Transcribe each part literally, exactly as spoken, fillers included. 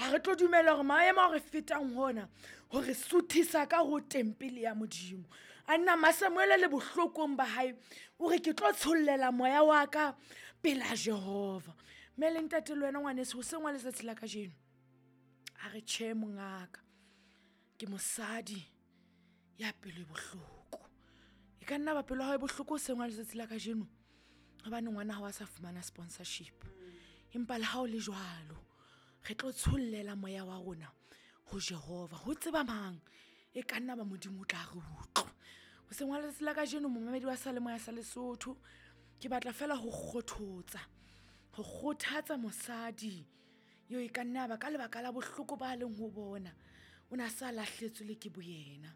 Ga re tlo dumela gore maemo a re fetang gona gore suthisa ka go tempele ya Modimo. A nna Masamuele le bohlokong ba hae o re ke tlo tshollela moya wa ka pela Jehova. Mme le ntate le wena ngwaneso hoseng wa letsatsi la kajeno a re tjhe mongaka, ke mosadi ya pelo e bohloko. E ka nna ba pelo ya hao e bohloko hoseng wa letsatsi la kajeno hobane ngwana hao a sa fumana sponsorship. Empa le ha o le jwalo re tlo tshollela moya wa rona ho Jehova. Ho tseba mang e ka nna ba Modimo o tla re utlwa. Hoseng wa letsatsi la kajeno momamedi wa Seyalemoya sa Lesotho, ke batla fela ho kgothotsa, ho kgothatsa mosadi eo e ka nna ba ka lebaka la bohloko ba leng ho bona o na sa lahletswe le ke boyena.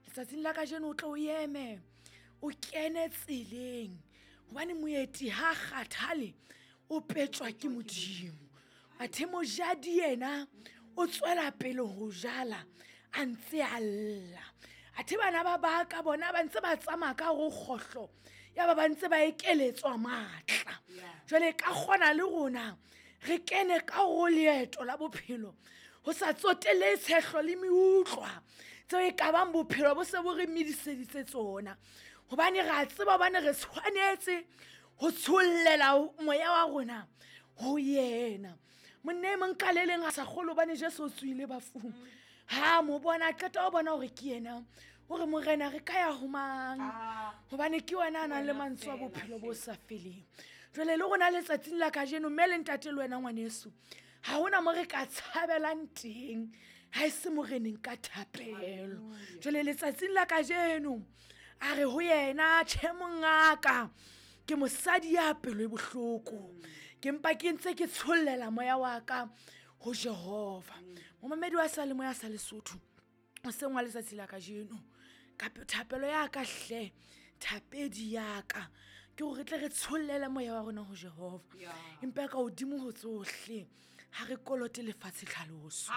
Letsatsing la kajeno o tlo o eme o kene tseleng hobane moeti ha kgathale o petjwa ke Modimo. Athe mojadi yena o tswela pele ho jala a ntse a lla. Athe bana ba baka bona ba ntse ba tsamaya ka hare ho kgohlo, ya ba ba ntse ba ekeletswa matla. Jwale ka kgona le rona re kene ka ho leeto la bophelo ho sa tsotelle tshehlo le meutlwa tseo e ka bang bophelo bo se bo re mediseditse tsona. Hobane re a tseba hobane re tshwanetse ho tshollela moya wa rona ho yena. Monna e mong ka le leng a sa kgolwe hobane Jesu o tsohile bafung. Ha mo bona a qeta ho bona hore ke yena, o re Morena re ka ya ho mang? Hobane ke wena a nang le mantswe a bophelo bo sa feleng. Jwale le rona letsatsing la kajeno mme le ntate le wena ngwaneso, ha hona mo re ka tshabelang teng ha e se Moreneng ka thapelo. Jwale letsatsing la kajeno a re ho yena, tjhe mongaka, ke mosadi ya pelo e bohloko, ke mpa ke ntse ke tshollela moya wa ka ho Jehova. Momamedi wa Seyalemoya sa Lesotho, hoseng wa letsatsi la kajeno ka thapelo ya ka hle, thapedi ya ka ke hore re tle re tshollele moya wa rona ho Jehova. Empa ka hodimo ho tsohle ha re kolote lefatshe tlhaloso,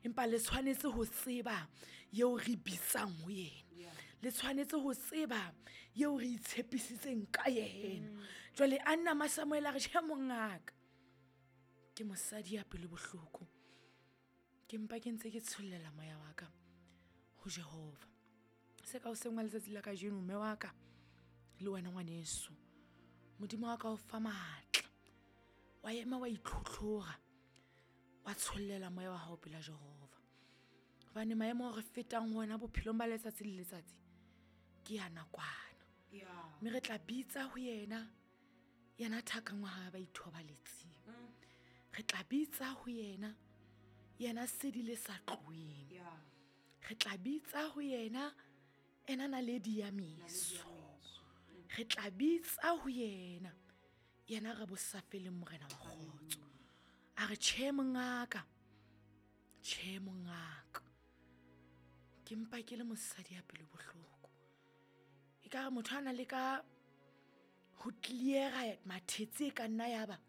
empa le tshwanetse ho tseba eo re bitsang ho yena, le tshwanetse ho tseba eo re itshepisitseng ka yena. Jwale Anna Masamuele a re tjhe mongaka, ke mosadi ya pelo bohloko, ke mpa ke ntse ke tshollela moya wa ka ho Jehova. Se ka hoseng wa letsatsi la kajeno mme wa ka le wena ngwaneso, Modimo wa ka o fa matla, wa ema wa itlhotlhora, wa tshollela moya wa hao pela Jehova. Hobane maemo a re fetang ho ona bophelong ba letsatsi le letsatsi ke ya nakwana. Mme re tla bitsa ho yena, yena thakang wa hae ba ithobaletseng. Re tla bitsa ho yena, yena sedi le sa tloheng. Re tla bitsa ho yena, ena naledi ya meso. Re tla bitsa ho yena, yena re bosafeleng Morena wa kgotso. A re tjhe mongaka, tjhe mongaka, ke mpa ke le mosadi ya pelo bohloko. Ekare motho a na le ka ho clear-a mathetse e ka nna ya ba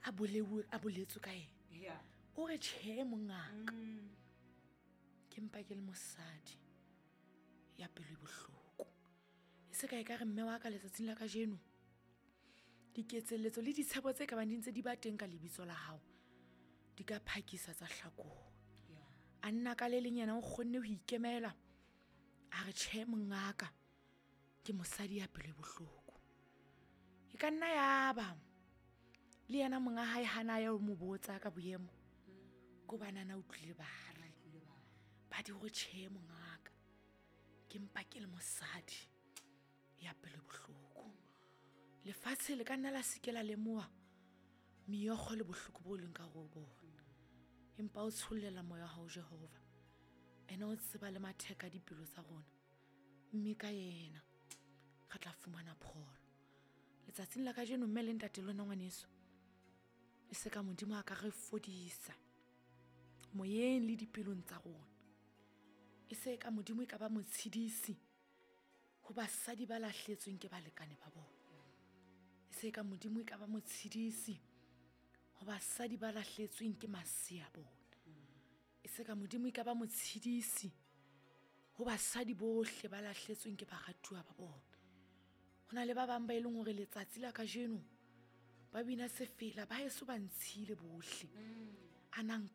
a boleuwe, a boletswe ka yena. O re tjhe mongaka, ke mpa ke le mosadi ya pelo e bohloko. E se ka ekare mme wa ka letsatsing la kajeno diketselletso le ditshepo tse ka bang di ntse di ba teng ka lebitso la hao di ka phakisa tsa hlakoha. A nna ka le leng yena o kgonne ho ikemela, a re tjhe mongaka, ke mosadi ya pelo e bohloko. E ka nna ya ba le yena monga hae hana ya ho mo botsa ka boemo, ko bana na utlwile ba re ba di hore tjhe mongaka, ke mpa ke le mosadi ya pelo e bohloko. Lefatshe le ka nna la se ke la lemoha meokgo le bohloko bo leng ka ho bona, empa o tshollela moya wa hao Jehova. Ena o tseba le matheka a dipelo tsa rona, mme ka yena re tla fumana pholo. Letsatsing la kajeno mme le ntate le wena ngwaneso, e se ka Modimo a ka re fodisa moyeng le dipelong tsa rona. E se ka Modimo e ka ba motshedisi ho basadi ba lahletsweng ke balekane ba bona. E se ka Modimo e ka ba motshedisi ho basadi ba lahletsweng ke masea bona. E se ka Modimo e ka ba motshedisi ho basadi bohle ba lahletsweng ke baratuwa ba bona. Ho na le ba bang ba e leng hore letsatsi la kajeno ba bina sefela ba heso ba ntshile bohle. A nang